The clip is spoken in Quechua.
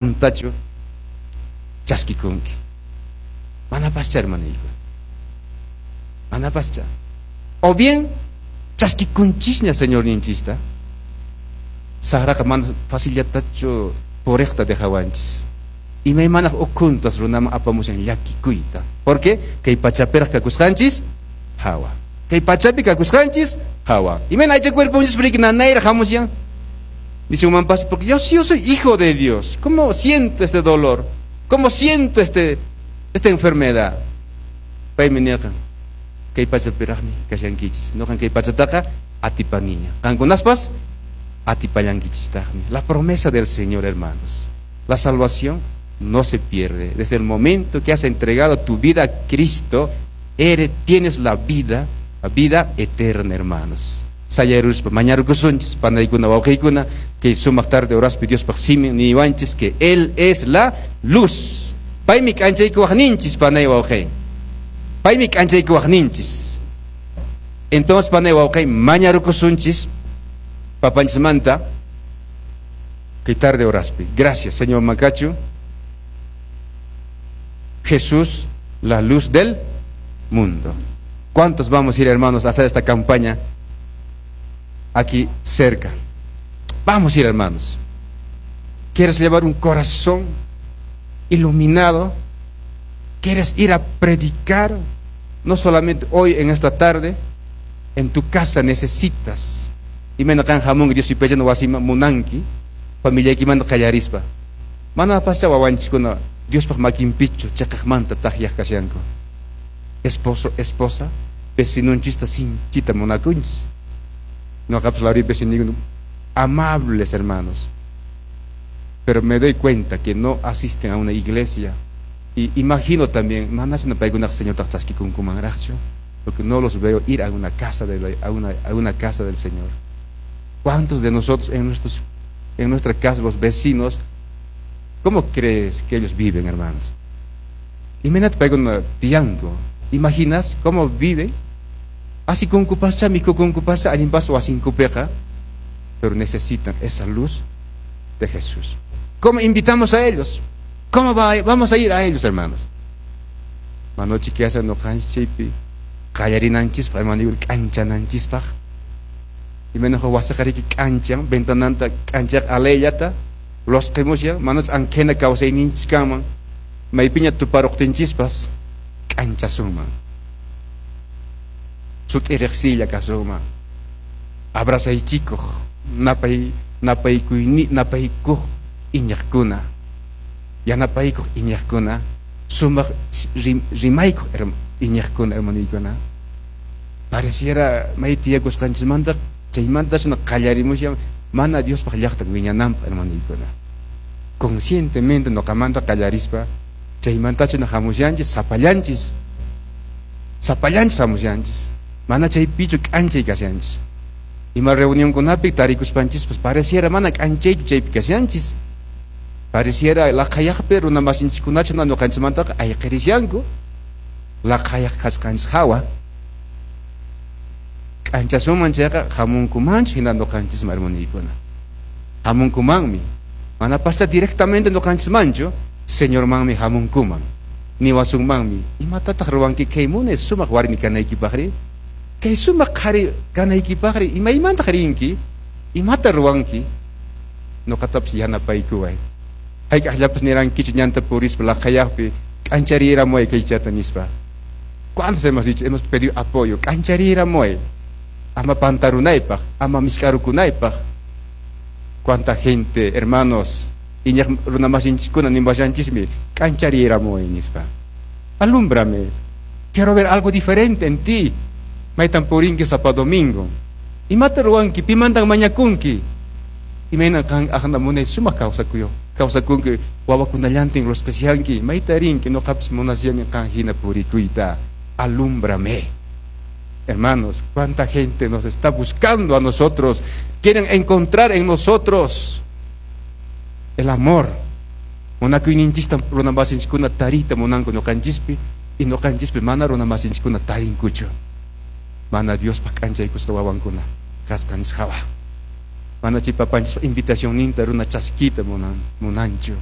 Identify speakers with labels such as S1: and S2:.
S1: Tachu chaskikunki. Manapascha, hermaniyku. Manapascha. O bien chaskikunchisña Señorninchista. Saqraqa mana facillatachu puriqta dejawanchis. Imaymanaq ukhuntas runaman apamushan llakikuyta. Porque kay pachapiraq kakusqanchis hawa. Kay pachapi kakusqanchis hawa. Imayna aycha cuerponchis riki nanayraq hamushan. Nisunmanpas, porque yo soy hijo de Dios. ¿Cómo siento este dolor? ¿Cómo siento esta enfermedad? Paymi nirqan, kay pachapiraqmi kashankichis. Noqan kay pachataqa atipaniña. Qankunaspas atipallankichistaqmi. La promesa del Señor, hermanos. La salvación no se pierde. Desde el momento que has entregado tu vida a Cristo, tienes la vida eterna, hermanos. Sayaruspa mañarukusunchis panaykuna wawqiykuna kay sumaq tarde horaspi Diospaq simin niwanchis que Él es la luz. Paymi k'anchaykuwaqninchis, panay wawqi. Paymi k'anchaykuwaqninchis. Entonces, panay wawqi, mañarukusunchis papanchismanta kay tarde horaspi. Gracias, Señor Macacho. Jesús, la luz del mundo. ¿Cuántos vamos a ir, hermanos, a hacer esta campaña aquí cerca? Vamos a ir, hermanos. ¿Quieres llevar un corazón iluminado? ¿Quieres ir a predicar? No solamente hoy en esta tarde, en tu casa necesitas. Imayna qan hamunki Dios yupaychana wasiman munanki, familiaykimanta qallarispa. Mana pascha wawanchiskuna Diospaq makinpichu chiqaqmanta takyaq kashanku. Esposo, esposa, vecinonchista sinchita munakunchis. Noqapas Lauri vecino, amables hermanos. Pero me doy cuenta que no asisten a una iglesia. Y imagino también, manasina paykunaq Señor chaskikunkumanraqchu, porque no los veo ir a una casa de la, a una casa del Señor. ¿Cuántos de nosotros en nuestra casa, los vecinos, cómo crees que ellos viven, hermanos? Imaynata paykuna tiyanku. ¿Imaginas cómo viven? Asikunkupascha, mikhukunkupascha, allinpas wasinkupiqa, pero necesitan esa luz de Jesús. ¿Cómo invitamos a ellos? ¿Cómo vamos a ir a ellos, hermanos? Manochi kiasa noqanchis chaypi qallarinanchispaq, hermano, k'anchananchispaq. Imayna wasiqa riki k'anchan, ventananta k'anchaq alayllata, losqimushan, manach ankhina kawsayninchis kanman, maypiña tuparuqtinchispas k'anchasunman. Sut'i riqsiylla kasunman. Abrazaychikuq, napay, napaykuyni, napaykuq iñiqkuna, yanapaykuq iñiqkuna, sumaq rimaykuq iñiqkuna, hermanoykuna. Pareciera may tiyakusqanchismanta chaymanta shina qallarimushan mana Diospaq llaqtan wiñananpaq, hermanoykuna. Conscientemente noqamanta qallarispa chaymanta shina hamushanchis, sapallanchis, sapallanchis hamushanchis, mana chaypichu k'anchay kashanchis. Ima reunionkunapi tarikuspanchis, pues pareciera mana k'anchaychu chaypi kashanchis. Pareciera laqhayaqpi runa masinchikunachu noqanchismantaqa ayqirishanku. Laqhayaq kasqanchis hawa. K'anchasunman chayqa hamunkumanchu hina noqanchisman, hermanoykuna. Hamunkumanmi. Mana pasa directamente noqanchismanchu, Señormanmi hamunkuman. Niwasunmanmi, imatataq ruwanki kay munay sumaq warmi kanaykipaqri? Kay sumaq qhari kanaykipaqri, imaymantaq rinki? Imata ruwanki? Noqatapas yanapaykuway. Hayk'aqllapas nirankichu ñanta purispa laqhayaqpi k'anchariramuway kaychata nispa. ¿Cuántos hemos dicho? Hemos pedido apoyo. K'anchariramuway. Ama pantarunaypaq, ama misk'arukunaypaq. Cuánta gente, hermanos, iñaq runa masinchiskuna niwashanchismi, k'anchariramuway nispa. Alúmbrame. Quiero ver algo diferente en ti. Maytan purinki sapa domingo. Imata ruwanki, pimantan mañakunki. Imayna qan aqna munay sumaq kawsakuyo. Kawsakunki wawakunallantin rosqashanki, mayta rinki, noqapas munashani qan hina purikuyta. Alúmbrame. Hermanos, cuánta gente nos está buscando a nosotros. Quieren encontrar en nosotros el amor. Munakuyninchista runa masinchiskuna tariyta munanku noqanchispi, y noqanchispi mana runa masinchiskuna tarinkuchu. Mana Diospaq k'anchaykusqa wawankuna kasqanchis hawa. Mana chay papanchispa invitacionninta runa chaskiyta munanchu.